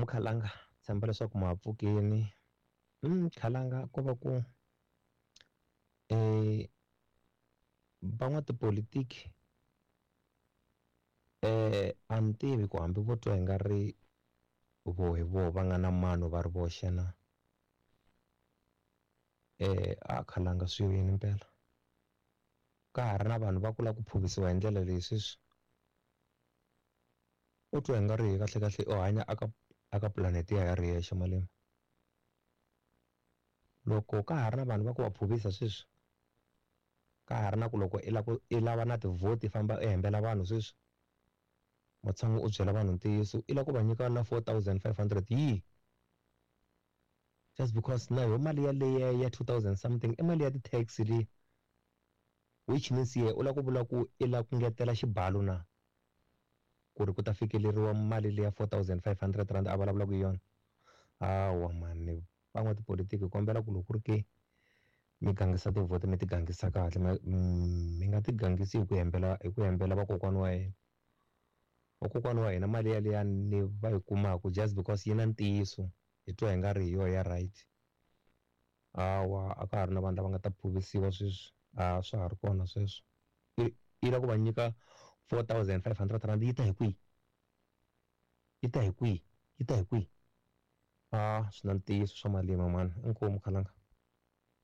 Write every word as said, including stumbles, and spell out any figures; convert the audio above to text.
Inkomu Khalanga, tshemba leswaku ma ha pfukini. Mm, Khalanga ko va ku eh van'watipolitiki eh a ni tivi ku hambi vo twa hi nga ri vo hi voho va nga na mano va ri voxe na eh a Khalanga swi yini mpela ka ha ri na vanhu va ku lava ku phuvisiwa hi ndlela leyi sweswi u twa hi nga ri kahle kahle u hanya aka aka planet ya ya ri yexe malema loko ka ha ri na vanhu va ku va phuvisa sweswi ka ha ri na ku loko i lava i lava na tivhoti famba i hembela vanhu sweswi matshan'wi u byela vanhu ntiyiso i lava ku va nyika na four thousand five hundred yi just because na yo mali yaleya ya two thousand something i mali ya ti-tax leyi which means ye u lava ku vula ku i lava ku ngetela xibalo na ku ri ku ta fikeleriwa mali leya four thousand five hundred rand a vulavulaka hi yona hawa mani van'watipolitiki kombela ku loko ku ri ke mi gangisa tivhoti mi ti gangisa kahle mi nga ti gangisi hi ku hembela hi ku hembela vakokwana wa hina vakokwana wa hina mali yaliya ni va yi kumaka just because yi na ntiyiso hi twa hi nga ri hi yona ya right hawa a ka ha ri na vanhu lava nga ta phuvisiwa sweswi a swa ha ri kona sweswo i lava ku va nyika four thousand five hundred rand yi ta hi kwihi yi ta hi kwihi yi ta hi kwihi a swi na ntiyiso swa malima mani inkomu Khalanga.